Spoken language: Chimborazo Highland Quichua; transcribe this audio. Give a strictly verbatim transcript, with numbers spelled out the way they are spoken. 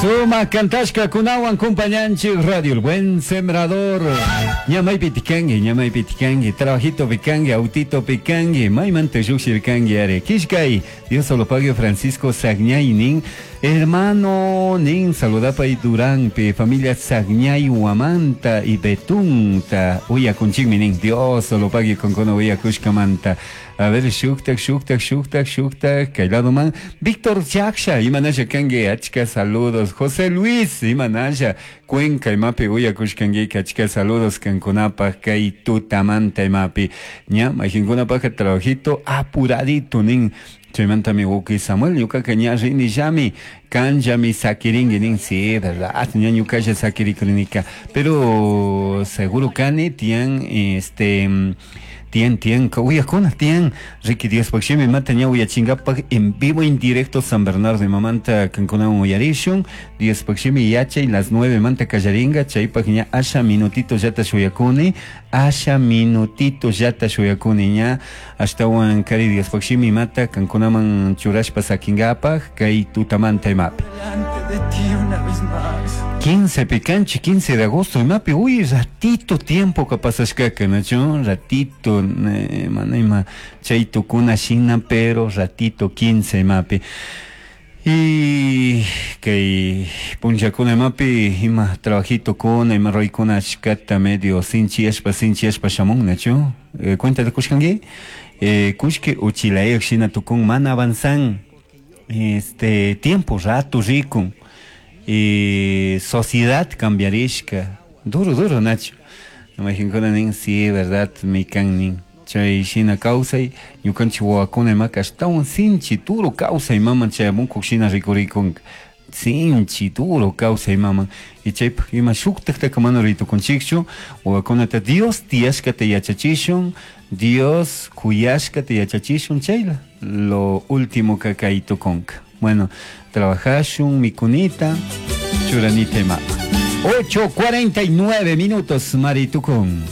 Suma kantashkakunawan kumpañanchik Radio El Buen Sembrador. Ñamaypi tikanki, ñamaypi tikanki, trabajito pikanki, autito pikanki, maymanta lluqshirkanki ari. Kishkay, Dios solo pague Francisco Sagñay nin, hermano nin, saludapay Duranpi, familia Sagñay Huamanta y Betunta, uyakunchikmi nin, Dios solo pague kankuna uyakushkamanta. A ver, shuktak, shuktak, shuktak, shuktak, kay ladoman. Víctor Chaksha, imanasha kanki, achka saludos. José Luis, imanasha, Cuenca imapi uyakushkanki, achka saludos kankunapaj kay tutamanta imapi. Ña, mayqinkunapaj trabajito apuradito nin. Chaymantami wawqi Samuel ñuqaqa ña rinillami kanllami sakirinki nin sí verdad ña ñuqalla sakirikrinika pero seguro kani tiyan este tiyan tiyan uyakuna tiyan riki Diospaq shimi mata ña uyachinkapak en vivo en directo San Bernardo imamanta kankunawan uyarishun Diospaq shimi yachay las nueve manta kallarinka chaypaq ña asha minutito llata shuyakuni asha minutito llata shuyakuni ña ashtawan kari Diospaq shimi mata kankunaman churashpa sakinkapaq kay tutamanta imapi Delante de ti una vez más. quince picanchi, quince de agosto, imapi, uy, ratito tiempo que pasashkaka, nachu, ratito, eh, mana ima, chay tukuna shina, pero ratito quince imapi. Y kay punllakuna imapi, ima trabajito kuna, ima ruraykuna achkata medio sinchiyashpa, sinchiyashpa shamun, nachu, eh, cuenta kushkanki, eh, kushki uchilayaq shina tukun mana avanzan, este, tiempo, rato rikun, y sociedad cambiarishka duro duro nacho mayqinkuna nin sí verdad mi kan nin chay shina kawsay ñukanchik wawakuna imaka ashtawan sinchi duro kawsay maman chayamunkuk shina rikurikun sinchi duro kawsay maman y chaypaq ima shuktaktaka mana ritukunchikchu wawakunata Dios tiyashkata yachachishun Dios kuyashkata yachachishun chayla lo último que kay tukunka bueno trabajashun mikunita churanita ima ocho cuarenta y nueve minutos maritukun.